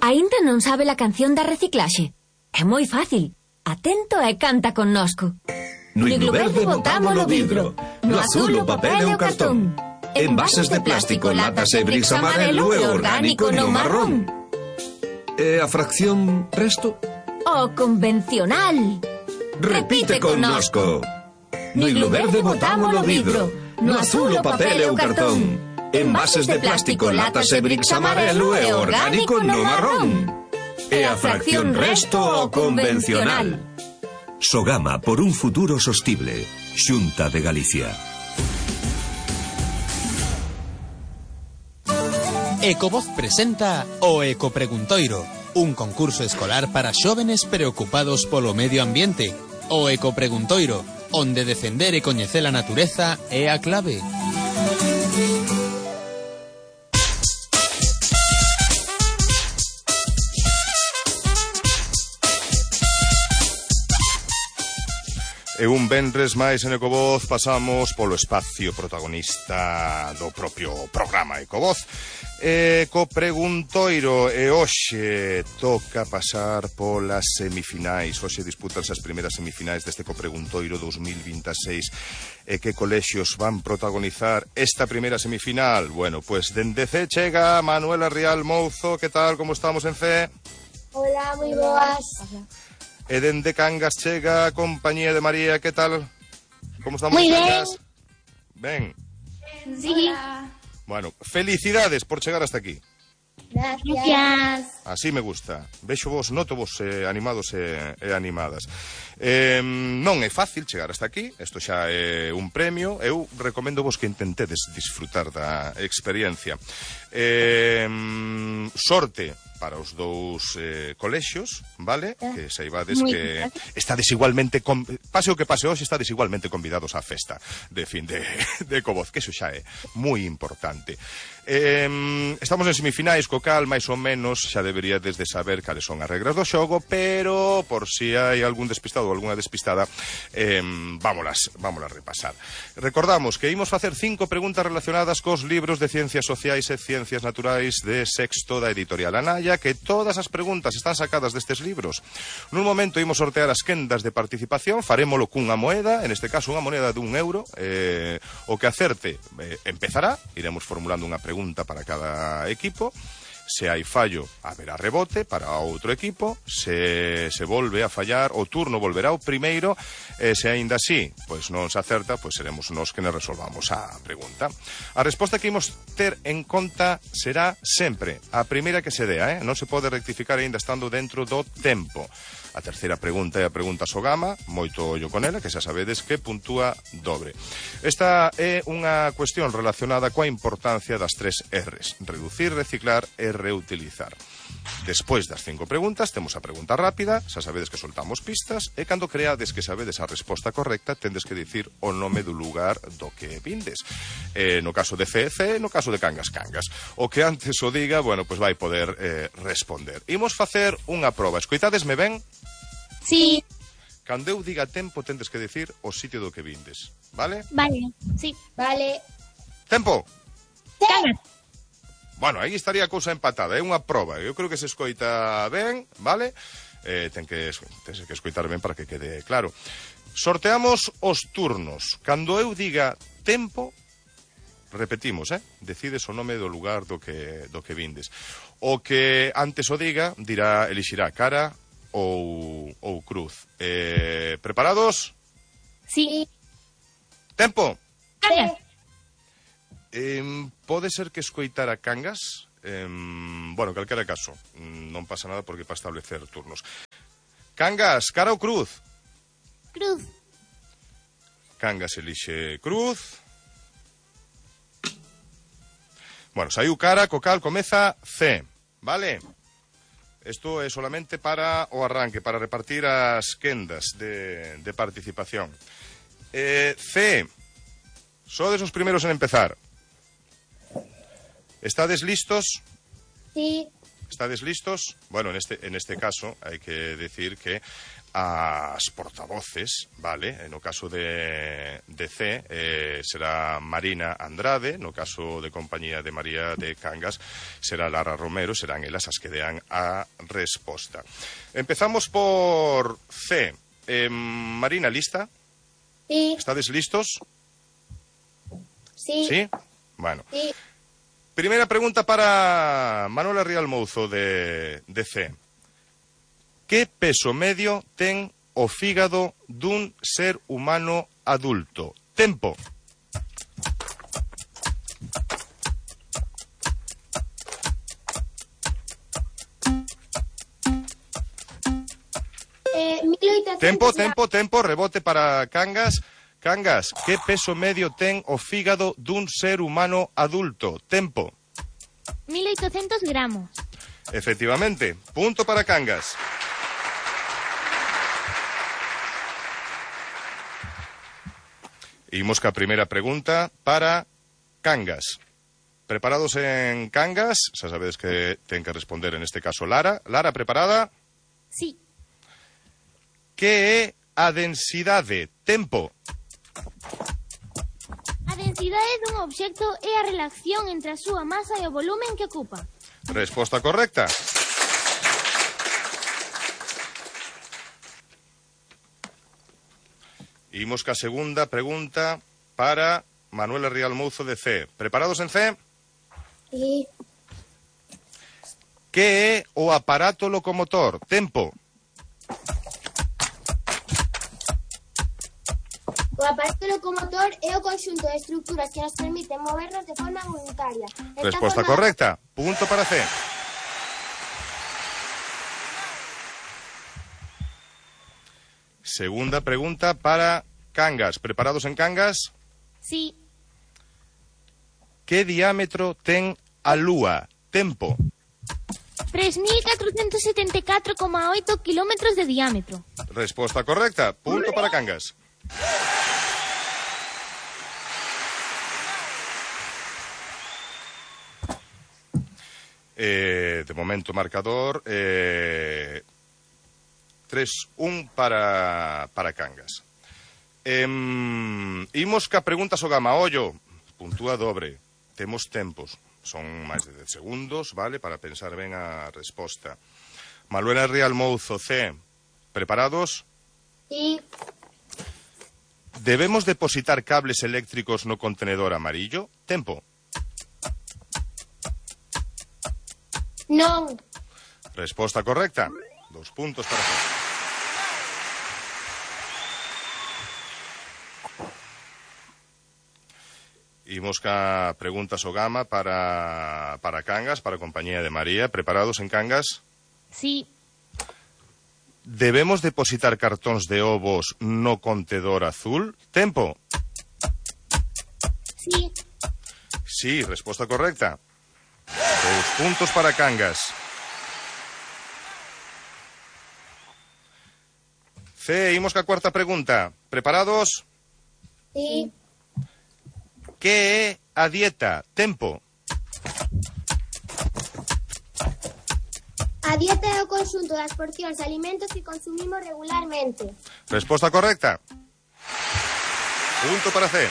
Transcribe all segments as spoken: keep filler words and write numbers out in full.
Aínda non sabe a canción da reciclaxe? É moi fácil. Atento e canta connosco. No iglo verde botámolo vidro, no azul o papel e o cartón. Envases de plástico, latas e bricks amarelo e orgánico no marrón. E a fracción resto? O convencional. Repite connosco. No iglo verde botámolo vidro, no azul o papel e o cartón. Envases de plástico, latas e bricks amarelo e orgánico no marrón. E a fracción resto o convencional. Sogama por un futuro sostible. Xunta de Galicia. Ecovoz presenta o Ecopreguntoiro, un concurso escolar para xóvenes preocupados polo medio ambiente. O Ecopreguntoiro, onde defender e coñecer a natureza é a clave. E un venres máis en Ecovoz pasamos polo espacio protagonista do propio programa Ecovoz. Ecopreguntoiro, e hoxe toca pasar polas semifinais. Hoxe disputanse as primeiras semifinais deste Ecopreguntoiro dos mil veintiséis. E que colexios van protagonizar esta primeira semifinal? Bueno, pues dende C chega Manuela Rial Mouzo. Que tal, como estamos en C? Hola, moi boas. E dende Cangas chega a compañía de María, que tal? Como estamos? Moi Cangas? Ben. Sí. Bueno, felicidades por chegar hasta aquí. Gracias. Así me gusta. Vexo vos, noto vos eh, animados e, e animadas. Eh, non é fácil chegar hasta aquí. Isto xa é un premio. Eu recomendo vos que intentedes disfrutar da experiencia. Eh, sorte para os dous eh, colexios, vale? Que saibades que está desigualmente con... pase o que pase hoxe, está desigualmente convidados á festa de fin de, de Ecovoz, que iso xa é moi importante. Eh, estamos en semifinais, co cal máis ou menos xa deberíades de saber cales son as regras do xogo, pero por si hai algún despistado ou algunha despistada, eh, vámolas, vámolas repasar. Recordamos que imos facer cinco preguntas relacionadas cos libros de Ciencias Sociais e Ciencias Naturais de sexto da editorial Anaya, que todas as preguntas están sacadas destes libros. Nun momento imos sortear as quendas de participación, farémolo cunha moeda, en este caso unha moneda dun euro. Eh, o que acerte eh, empezará, iremos formulando unha pregunta para cada equipo. Se hai fallo, haberá rebote para outro equipo. Se se volve a fallar, o turno volverá ao primeiro. E se aínda así, pois non se acerta, pois seremos nós que nos resolvamos a pregunta. A resposta que imos ter en conta será sempre a primeira que se dea, eh? Non se pode rectificar aínda estando dentro do tempo. A terceira pregunta é a pregunta Sogama, moito ollo con ela, que xa sabedes que puntúa dobre. Esta é unha cuestión relacionada coa importancia das tres R's: reducir, reciclar e reutilizar. Despois das cinco preguntas, temos a pregunta rápida, xa sabedes que soltamos pistas, e cando creades que sabedes a resposta correcta, tendes que dicir o nome do lugar do que vindes. Eh, no caso de C C, no caso de Cangas Cangas. O que antes o diga, bueno, pois vai poder eh, responder. Imos facer unha proba. Escoitadesme ben? Sí. Cando eu diga tempo, tendes que dicir o sitio do que vindes, vale? Vale. Sí. Vale. Tempo. Cangas. Bueno, aí estaría a cousa empatada, é unha proba. Eu creo que se escoita ben, vale? Eh, ten que, ten que escoitar ben para que quede claro. Sorteamos os turnos. Cando eu diga tempo, repetimos, eh? Decides o nome do lugar do que, do que vindes. O que antes o diga, dirá, elixirá cara ou, ou cruz. Eh, preparados? Sí. Tempo. Cangas. Eh, pode ser que escoitara Cangas? Eh, bueno, calquera caso, non pasa nada porque para establecer turnos. Cangas, cara ou cruz? Cruz. Cangas elixe cruz. Bueno, saiu cara, co cal comeza C, vale? Isto é solamente para o arranque, para repartir as quendas de, de participación. Eh, C, sodes os primeiros en empezar. ¿Estades listos? Sí. ¿Estades listos? Bueno, en este, en este caso hai que decir que as portavoces, vale, no caso de, de C eh, será Marina Andrade, no caso de compañía de María de Cangas será Lara Romero, serán elas as que dean a resposta. Empezamos por C. Eh, Marina, ¿lista? Sí. ¿Estades listos? Sí. ¿Sí? Bueno. Sí. Primera pregunta para Manuela Rial Mouzo de, de C. Que peso medio ten o fígado dun ser humano adulto? Tempo. Eh, mil oitocentos Tempo, tempo, tempo, rebote para Cangas. Cangas, que peso medio ten o fígado dun ser humano adulto? Tempo. mil oitocentos gramos. Efectivamente, punto para Cangas. Imos ca primeira pregunta para Cangas. Preparados en Cangas, xa sabedes que ten que responder en este caso Lara. Lara, preparada? Sí. Que é a densidade? Tempo. A densidade dun obxecto é a relación entre a súa masa e o volumen que ocupa. Resposta correcta. Imos ca segunda pregunta para Manuela Rial Mouzo de C. Preparados en C? Sí. Que é o aparato locomotor? Tempo. O aparato locomotor é o conxunto de estructuras que nos permiten movernos de forma voluntaria. Está Resposta formado- correcta. Punto para C. Segunda pregunta para Cangas. ¿Preparados en Cangas? Sí. Que diámetro ten a Lúa? Tempo. tres mil catrocentos setenta e catro coma oito kilómetros de diámetro. Resposta correcta. Punto para Cangas. Eh, de momento marcador eh, tres un para, para Cangas. Em, imos ca preguntas o gama ollo. Puntúa dobre. Temos tempos. Son máis de dez segundos, vale, para pensar ben a resposta. Manuela Rial Mouzo, C. Preparados? Sí. Debemos depositar cables eléctricos no contenedor amarillo? Tempo. Non. Resposta correcta. Dos puntos para ti. Imos ca preguntas o gama para, para Cangas, para a compañía de María. Preparados en Cangas? Sí. Debemos depositar cartóns de ovos no contedor azul? Tempo. Sí. Sí, resposta correcta. Dos puntos para Cangas. C, imos ca cuarta pregunta. Preparados? Sí. Que é a dieta? Tempo. A dieta é o conxunto das porcións de alimentos que consumimos regularmente. Resposta correcta. Punto para C.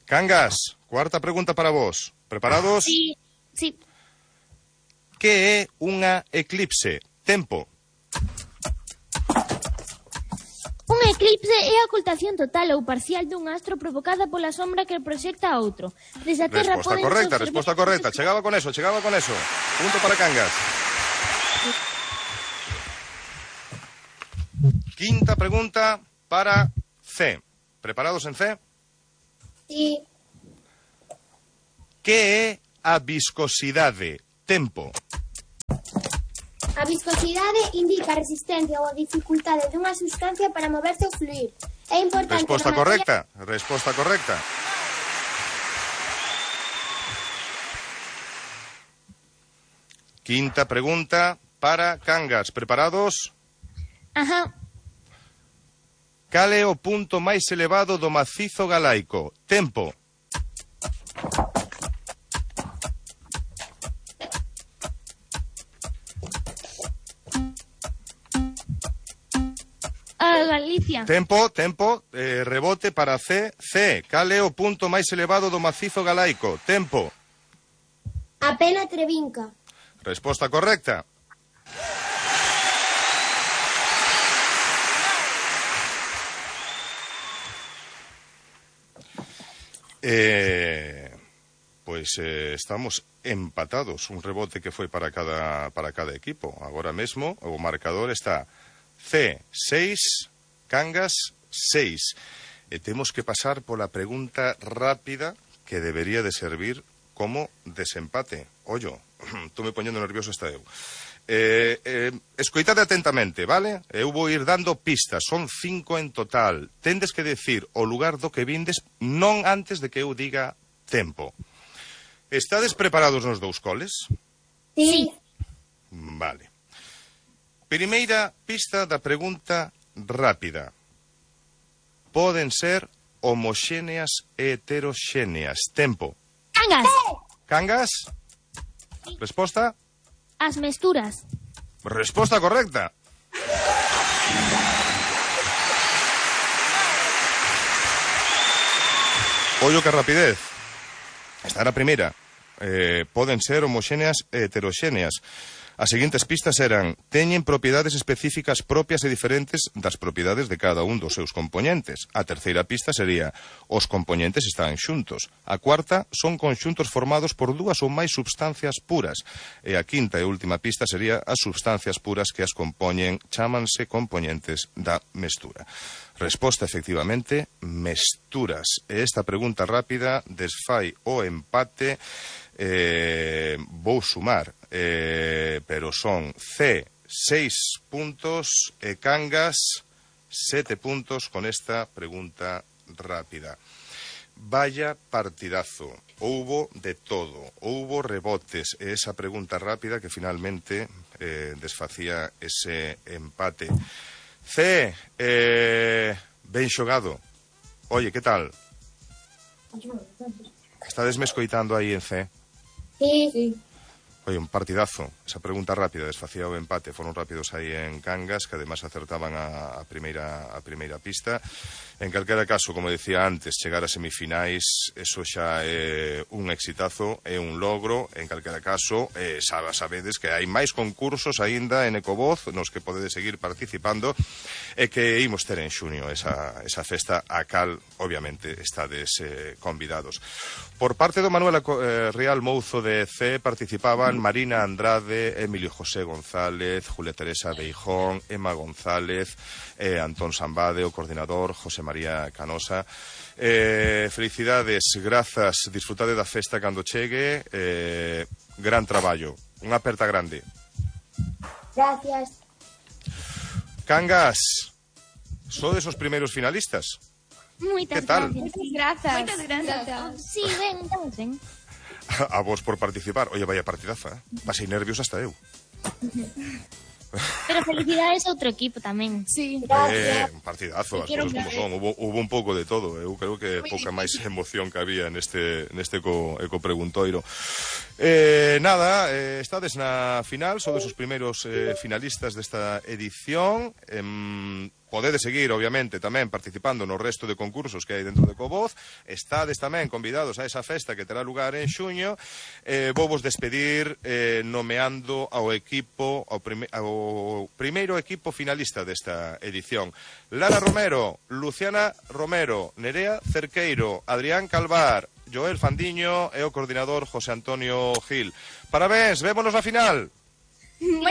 Cangas, cuarta pregunta para vos. Preparados? Sí. Sí. Que é unha eclipse? Tempo. Un eclipse é a ocultación total ou parcial dun astro provocada pola sombra que proxecta a outro. Desde a Terra Resposta poden correcta, observar- resposta correcta. Chegaba con eso, chegaba con eso. Punto para Cangas. Quinta pregunta para C. ¿Preparados en C? Sí. Que é a viscosidade? Tempo. A viscosidade indica a resistencia ou a dificultade dunha sustancia para moverse ou fluir. É importante... Resposta no material- correcta, resposta correcta. Quinta pregunta para Cangas. ¿Preparados? Ajá. Cal é o punto máis elevado do macizo galaico? Tempo. Galicia. Tempo, tempo, eh, rebote para C. C. Cal é o punto máis elevado do macizo galaico? Tempo. A Pena Trevinca. Resposta correcta. Eh, pues eh, estamos empatados. Un rebote que foi para cada, para cada equipo. Agora mesmo o marcador está C seis, Cangas seis. E temos que pasar pola pregunta rápida que debería de servir como desempate. Ollo, estou me poñendo nervioso hasta eu. Eh, eh, escoitade atentamente, vale? Eu vou ir dando pistas, son cinco en total. Tendes que decir o lugar do que vindes non antes de que eu diga tempo. Estades preparados nos dous coles? Sí. Vale. Primeira pista da pregunta rápida. Poden ser homoxéneas e heteroxéneas. Tempo. Cangas. Cangas? Resposta? As mesturas. Resposta correcta. Ollo que rapidez. Esta era a primeira. Eh, poden ser homoxéneas e heteroxéneas. As seguintes pistas eran: teñen propiedades específicas propias e diferentes das propiedades de cada un dos seus componentes. A terceira pista sería: os componentes están xuntos. A cuarta: son conxuntos formados por dúas ou máis substancias puras. E a quinta e última pista sería: as substancias puras que as compoñen chámanse componentes da mestura. Resposta, efectivamente, mesturas. E esta pregunta rápida desfai o empate. Eh, vou sumar, eh, pero son C seis puntos e Cangas sete puntos con esta pregunta rápida. Vaya partidazo, houbo de todo, houbo rebotes e esa pregunta rápida que finalmente eh, desfacía ese empate. C, eh, ben xogado. Oye, que tal? Estades me escoitando aí en C? Sí. Sí. Oye, un partidazo. Esa pregunta rápida desfacía o empate. Foron rápidos aí en Cangas, que además acertaban a, a primeira a primeira pista. En calquera caso, como decía antes, chegar a semifinais, eso xa é un exitazo, é un logro. En calquera caso, eh, sabedes que hai máis concursos aínda en Ecovoz nos que podedes seguir participando e que imos ter en xuño esa, esa festa a cal, obviamente, estades eh, convidados. Por parte do Manuel eh, Real Mouzo de C participaban Marina Andrade, Emilio José González, Julia Teresa Beijón, Emma González, eh, Antón Sambade, o coordinador, José María Canosa. Eh, felicidades, grazas, disfrutade da festa cando chegue, eh, gran traballo, unha aperta grande. Gracias. Cangas, sodes os primeiros finalistas. Moitas Que tal? gracias. Moitas grazas. Sí, ben, estamos ben. A vos por participar. Oye, vaya partidaza, eh? Pasei nervios hasta eu. Pero felicidades a outro equipo tamén. Sí. Eh, un partidazo, as Quiero cousas como ver. son. Hubo, hubo un pouco de todo. Eu creo que pouca máis emoción que había neste, neste eco, eco preguntoiro. Eh, nada, eh, estades na final, sodes os primeiros eh, finalistas desta edición. Eh, Podedes seguir, obviamente, tamén participando no resto de concursos que hai dentro de Ecovoz. Estades tamén convidados a esa festa que terá lugar en xuño. Eh, vou vos despedir eh, nomeando ao equipo, ao, prime, ao primeiro equipo finalista desta edición. Lara Romero, Luciana Romero, Nerea Cerqueiro, Adrián Calvar, Joel Fandiño e o coordinador José Antonio Gil. Parabéns, vémonos na final.